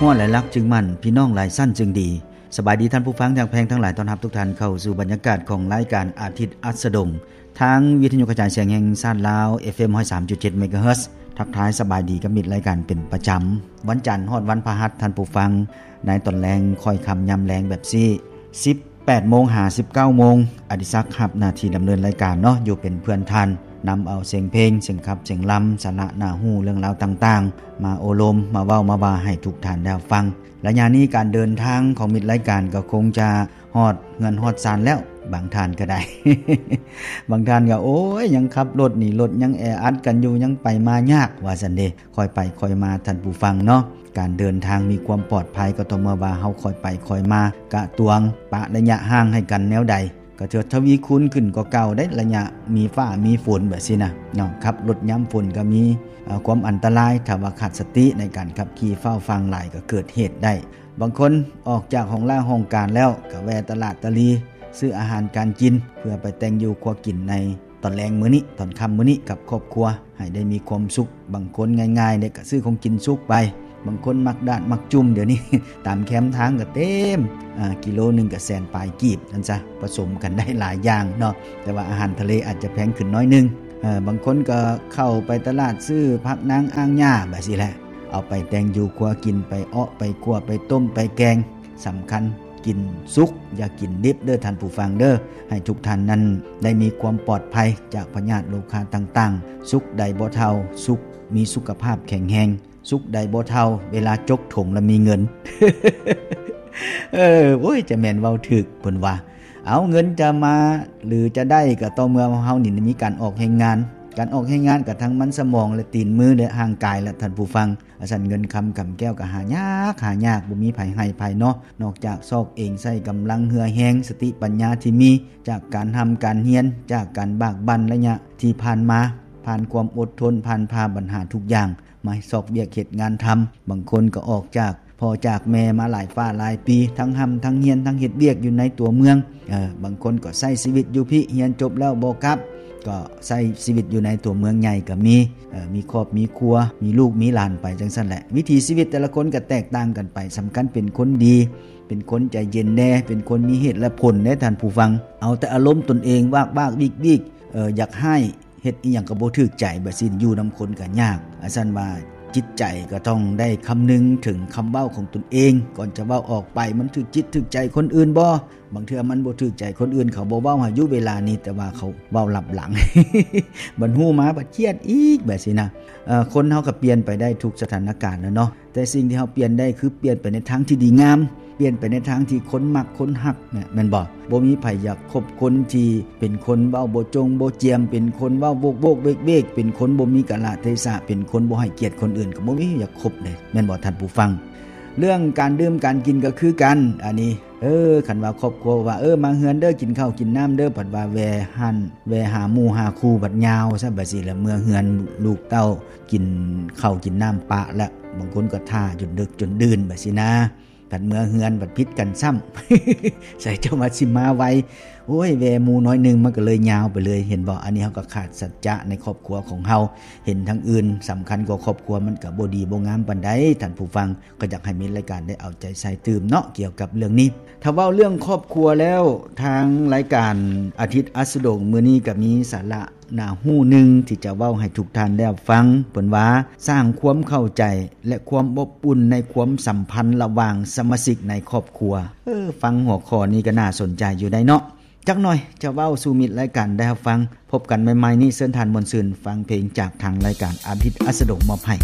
ໝໍຫຼາຍຫຼັກຈຶ່ງໝັ້ນ ພີ່ນ້ອງຫຼາຍຊັ້ນຈຶ່ງດີ. ສະບາຍດີທ່ານຜູ້ຟັງທີ່ຮັກແພງທັງຫຼາຍ, ຕ້ອນຮັບທຸກທ່ານເຂົ້າສູ່ບັນຍາກາດຂອງລາຍການອາທິດອັດສະດົງ ທາງວິທະຍຸກະຈາຍສຽງແຫ່ງຊາດລາວ ເອັຟເອັມ ຮ້ອຍສາມຈຸດເຈັດ ເມກາເຮີດ. ທັກທາຍສະບາຍດີກັບມິດລາຍການເປັນປະຈຳ ວັນຈັນຮອດວັນພະຫັດ ທ່ານຜູ້ຟັງ, ໃນຕອນແລງຄ່ອຍຄ່ຳຍາມແລງແບບຊີ້ ສິບແປດໂມງຫາສິບເກົ້າໂມງ, ອະດິສັກຮັບໜ້າທີ່ດຳເນີນລາຍການເນາະ, ຢູ່ເປັນເພື່ອນທ່ານ, ນຳເອົາສຽງເພງ, ສຽງຂັບ, ສຽງລຳ, ສາລະໜ້າຮູ້, ເລື່ອງລາວຕ່າງໆ ມາໂອ້ລົມ, ມາເວົ້າ, ມາວ່າໃຫ້ທຸກທ່ານໄດ້ຮັບຟັງ. ໄລຍະນີ້ການເດີນທາງຂອງມິດລາຍການກໍຄົງຈະຮອດເຮືອນຮອດຊານແລ້ວ, ບາງທ່ານກໍໄດ້ ບາງທ່ານກໍ ໂອ້ຍ ຍັງຂັບລົດນີ້, ລົດຍັງແອອັດກັນຢູ່, ຍັງໄປມາຍາກ ວ່າຊັ້ນເດ. ຄ່ອຍໄປຄ່ອຍມາທ່ານຜູ້ຟັງເນາະ, ການເດີນທາງມີຄວາມປອດໄພກໍຕໍ່ເມື່ອວ່າເຮົາຄ່ອຍໄປຄ່ອຍມາ, ກະຕວງປະໄລຍະຫ່າງໃຫ້ກັນແນວໃດ ກໍຖືວ່າທະວີຄູນຂຶ້ນກວ່າເກົ່າໄດ໋, ໄລຍະມີຟ້າມີຝົນແບບຊີ້ນະເນາະ. ຂັບລົດຍາມຝົນກໍມີ ເອີ ຄວາມອັນຕະລາຍ, ຖ້າວ່າຂາດສະຕິໃນການຂັບຂີ່, ຟ້າວຟາງຫຼາຍກໍເກີດເຫດໄດ້. ບາງຄົນອອກຈາກຫ້ອງລາຫ້ອງການແລ້ວ ກໍແວ່ຕະຫຼາດຕະຫຼີ ຊື້ອາຫານການກິນ ເພື່ອໄປແຕ່ງຢູ່ຄົວກິນໃນຕອນແລງມື້ນີ້, ຕອນຄ່ຳມື້ນີ້ກັບຄອບຄົວ ໃຫ້ໄດ້ມີຄວາມສຸກ. ບາງຄົນງ່າຍໆເດ້ ກໍຊື້ຂອງກິນສຸກໄປ. ບາງຄົນມັກດາດມັກຈຸ່ມ, ດຽວນີ້ຕາມແຄມທາງກໍເຕັມ, ອາ ກິໂລໜຶ່ງກໍແສນປາຍກີບ ນັ້ນຊະ, ປະສົມກັນໄດ້ຫຼາຍຢ່າງເນາະ. ແຕ່ວ່າອາຫານທະເລອາດຈະແພງຂຶ້ນໜ້ອຍໜຶ່ງ. ເອີ ບາງຄົນກໍເຂົ້າໄປຕະຫຼາດຊື້ຜັກນາງອ່າງຫຍ້າ ແບບຊີ້ແຫຼະ, ເອົາໄປແຕ່ງຢູ່ຄົວກິນ, ໄປເອາະ, ໄປຂົ້ວ, ໄປຕົ້ມ, ໄປແກງ. ສຳຄັນ ກິນສຸກ, ຢ່າກິນດິບເດີທ່ານຜູ້ຟັງເດີ. ໃຫ້ທຸກທ່ານນັ້ນໄດ້ມີຄວາມປອດໄພຈາກພະຍາດໂລຄາຕ່າງໆ. ສຸກໃດບໍ່ເທົ່າ ສຸກມີສຸຂະພາບແຂງແຮງ, ສຸກໃດບໍ່ເທົ່າເວລາຈົກຖົງແລ້ວມີເງິນ. ເອີ ໂອ້ຍ ຈະແມ່ນເວົ້າຖືກເພິ່ນວ່າ. ເອົາ ເງິນຈະມາ ຫຼື ຈະໄດ້ ກໍຕໍ່ເມື່ອເຮົານີ້ມີການອອກແຮງງານ. ການອອກແຮງງານກໍທັງມັນສະໝອງ ແລະ ຕີນມື ແລະ ຮ່າງກາຍ ແລະ ທ່ານຜູ້ຟັງ. ອາ ຊັ້ນເງິນຄຳກຳແກ້ວກໍຫາຍາກ, ຫາຍາກ, ບໍ່ມີໃຜໃຫ້ໃຜເນາະ, ນອກຈາກຊອກເອງ, ໃຊ້ກຳລັງເຫື່ອແຮງ, ສະຕິປັນຍາທີ່ມີ ຈາກການຮ່ຳການຮຽນ, ຈາກການບາກບັ່ນໄລຍະທີ່ຜ່ານມາ, ຜ່ານຄວາມອົດທົນ, ຜ່ານຜ່າບັນຫາທຸກຢ່າງ, ມາຊອກວຽກເຮັດງານທຳ. ບາງຄົນກໍອອກຈາກພໍ່ຈາກແມ່ມາຫຼາຍຟ້າຫຼາຍປີ, ທັງຮ່ຳທັງຮຽນ, ທັງເຮັດວຽກຢູ່ໃນຕົວເມືອງ. ເອີ ບາງຄົນກໍໃຊ້ຊີວິດຢູ່ພີ້, ຮຽນຈົບແລ້ວບໍ່ກັບ, ກໍໃຊ້ຊີວິດຢູ່ໃນຕົວເມືອງໃຫຍ່ກໍມີ. ເອີ ມີຄອບມີຄົວ, ມີລູກມີຫຼານໄປຈັ່ງຊັ້ນແຫຼະ. ວິຖີຊີວິດແຕ່ລະຄົນກໍແຕກຕ່າງກັນໄປ. ສຳຄັນເປັນຄົນດີ, ເປັນຄົນໃຈເຢັນແດ່, ເປັນຄົນມີເຫດແລະຜົນແດ່ທ່ານຜູ້ຟັງ. ເອົາແຕ່ອາລົມຕົນເອງ, ວາກໆວິກໆ, ເອີ ຢາກຮ້າຍ, ເຮັດອີ່ຫຍັງກໍບໍ່ຖືກໃຈ, ແບບຊີ້ຢູ່ນຳຄົນກໍຍາກ. ອາ ຊັ້ນວ່າຈິດໃຈກໍຕ້ອງໄດ້ຄຳນຶງເຖິງຄຳເວົ້າຂອງຕົນເອງ, ກ່ອນຈະເວົ້າອອກໄປ ມັນຖືກຈິດຖືກໃຈຄົນອື່ນບໍ່? ບາງເທື່ອມັນບໍ່ຖືກໃຈຄົນອື່ນ, ເຂົາບໍ່ເວົ້າໃຫ້ຢູ່ເວລານີ້, ແຕ່ວ່າເຂົາເວົ້າລັບຫຼັງ, ບັດຮູ້ມາບັດຄຽດອີກ, ແບບຊີ້ນະ. ເອີ ຄົນເຮົາກໍປ່ຽນໄປໄດ້ທຸກສະຖານະການແລ້ວເນາະ, ແຕ່ສິ່ງທີ່ເຮົາປ່ຽນໄດ້ ຄືປ່ຽນໄປໃນທາງທີ່ດີງາມ, ປ່ຽນໄປໃນທາງທີ່ຄົນມັກຄົນຮັກນະ, ແມ່ນບໍ່? ບໍ່ມີໃຜຢາກຄົບຄົນທີ່ເປັນຄົນເວົ້າບໍ່ຈົ່ງບໍ່ຈຽມ, ເປັນຄົນເວົ້າໂວກໆເວກໆ, ເປັນຄົນບໍ່ມີກາລະເທສະ, ເປັນຄົນບໍ່ໃຫ້ກຽດຄົນອື່ນ, ກໍບໍ່ມີໃຜຢາກຄົບເດ້, ແມ່ນບໍ່ທ່ານຜູ້ຟັງ? ເລື່ອງການດື່ມການກິນກໍຄືກັນ. ອັນນີ້ ເອີ ຄັນວ່າຄອບຄົວວ່າ ເອີ ມາເຮືອນເດີ, ກິນເຂົ້າກິນນ້ຳເດີ, ພັດວ່າແວ່ຮ້ານ, ແວ່ຫາໝູ່ຫາຄູ່, ບັດຍາວຊະ, ບັດຊີ້ລະເມືອເຮືອນ, ລູກເຕົ້າກິນເຂົ້າກິນນ້ຳປະລະ, ບາງຄົນກໍຖ້າຈົນເດິກຈົນດື່ນ, ບັດຊີ້ນະ. ຄັນເມືອເຮືອນບັດຜິດກັນຊ້ຳ, ໃສ່ເຈົ້າວ່າຊິມາໄວ, ໂອ້ຍ ແວ່ໝູ່ໜ້ອຍໜຶ່ງ, ມັນກໍເລີຍຍາວໄປເລີຍ, ເຫັນບໍ່? ອັນນີ້ເຮົາກໍຂາດສັດຈະໃນຄອບຄົວຂອງເຮົາ, ເຫັນທາງອື່ນສຳຄັນກວ່າຄອບຄົວ, ມັນກໍບໍ່ດີບໍ່ງາມປານໃດ. ທ່ານຜູ້ຟັງ ກໍຢາກໃຫ້ມິດລາຍການໄດ້ເອົາໃຈໃສ່ຕື່ມເນາະ ກ່ຽວກັບເລື່ອງນີ້. ຖ້າເວົ້າເລື່ອງຄອບຄົວແລ້ວ, ທາງລາຍການອາທິດອັດສະດົງມື້ນີ້ກໍມີສາລະໜ້າຮູ້ໜຶ່ງທີ່ຈະເວົ້າໃຫ້ທຸກທ່ານໄດ້ຮັບຟັງ. ເພິ່ນວ່າ ສ້າງຄວາມເຂົ້າໃຈ ແລະ ຄວາມອົບອຸ່ນໃນຄວາມສຳພັນລະຫວ່າງສະມາຊິກໃນຄອບຄົວ. ເອີ ຟັງຫົວຂໍ້ນີ້ກໍໜ້າສົນໃຈຢູ່ໄດ໋ເນາະ. ຈັກໜ່ອຍຈະເວົ້າສູ່ມິດລາຍການໄດ້ຮັບຟັງ. ພົບກັນໃໝ່ໆນີ້ ເຊີນທ່ານມ່ວນຊື່ນຟັງເພງຈາກທາງລາຍການອາທິດອັດສະດົງມອບໃຫ້.